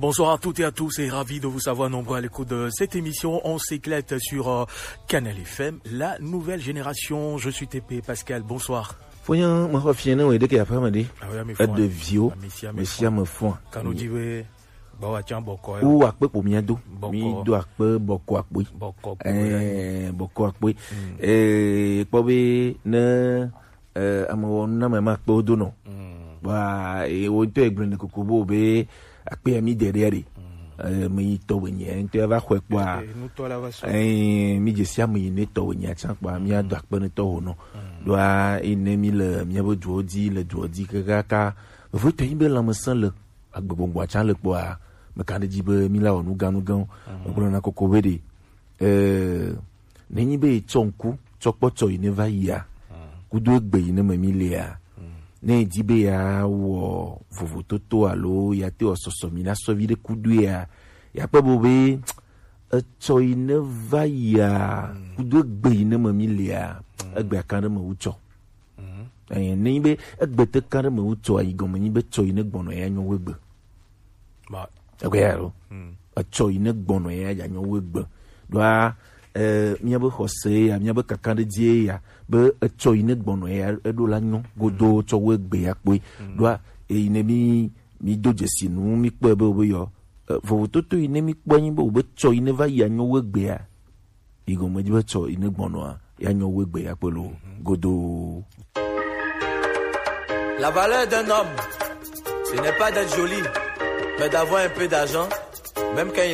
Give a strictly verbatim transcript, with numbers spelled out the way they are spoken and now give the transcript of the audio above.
Bonsoir à toutes et à tous et ravi de vous savoir nombreux à l'écoute de cette émission. On s'éclate sur euh, Canal F M, la nouvelle génération. Je suis T P Pascal. Bonsoir. Fonya, mo xɔ fiɛ ne wo ɖeke aƒe me ɖe. Ah oui, ame fɔa. Eɖe viwo. Ame sia ame fɔa. Kanu di be, ba wa tian bɔkɔ. Wo akpe ko mia do. Bɔkɔ. Mi do akpe bɔkɔ akpe. Bɔkɔ ko. Eh, bɔkɔ akpe. Eh, kpɔ be ne eh, ame wɔ nu na ame ma kpe wo do nɔ. Ba, eh, wo ŋutɔ egblɔ ne koko bo be akpe ya mi de ɖe ɖe. Eh, me yi tɔ be nye, ŋutɔ ya va xɔe kpɔa. Eh, eh, nutɔ la va sɔ. Eh, mi dze si ame yi ne tɔ be nye atsa kpɔa, mi ado akpe ne tɔ ho nɔ. Ɖoa, eh, ne mi le mia be duɔ di, le duɔ di kaka ka, evo tɔ yi be lãmesẽ le agbegbɔgbɔ atsa le kpɔa, me ka ɖe dzi be mi la wɔ nu gã nu gãwo. Me gblɔ na koko be ɖe. Eh, nenyi be etsɔ ŋku tsɔ kpɔ tsɔ yi ne va yia, kudo egbe yi ne me mi lea, ne edi be ya wɔ vovototo alo ya te wɔ sɔsɔ mi na sɔvi ɖe kudo ya, ya kpe bo be etsɔ yi ne va yia, kudo egbe yi ne me mi lea, egbe kan ɖe me wu tsɔ. Eh, nenyi be egbe te kan ɖe me wu tsɔ ayi gɔme nyi be tsɔ yi ne gbɔnɔ ya nyɔ wo egbe. Egbe ya lo. Etsɔ yi ne gbɔnɔ ya ya nyɔ wo egbe. Ɖoa, eh, mia be xɔse ya, mia be kaka ɖe dzi ya, be etsɔ yi ne gbɔnɔ ya, eɖo la nyɔ godo tsɔ wo egbe ya kpɔe. Ɖoa, eyi ne mi, mi do dzesi nu, mi kpɔe be wo be yɔ, eh, vovototo yi ne mi kpɔ nyi be wo be tsɔ yi ne va yi anyɔ wo egbe ya. Yi gɔme dzi be tsɔ yi ne gbɔnɔa, ya nyɔ wo egbe ya kpe lo godo. La valeur d'un homme, ce n'est pas d'être joli, mais d'avoir un peu d'argent, même quand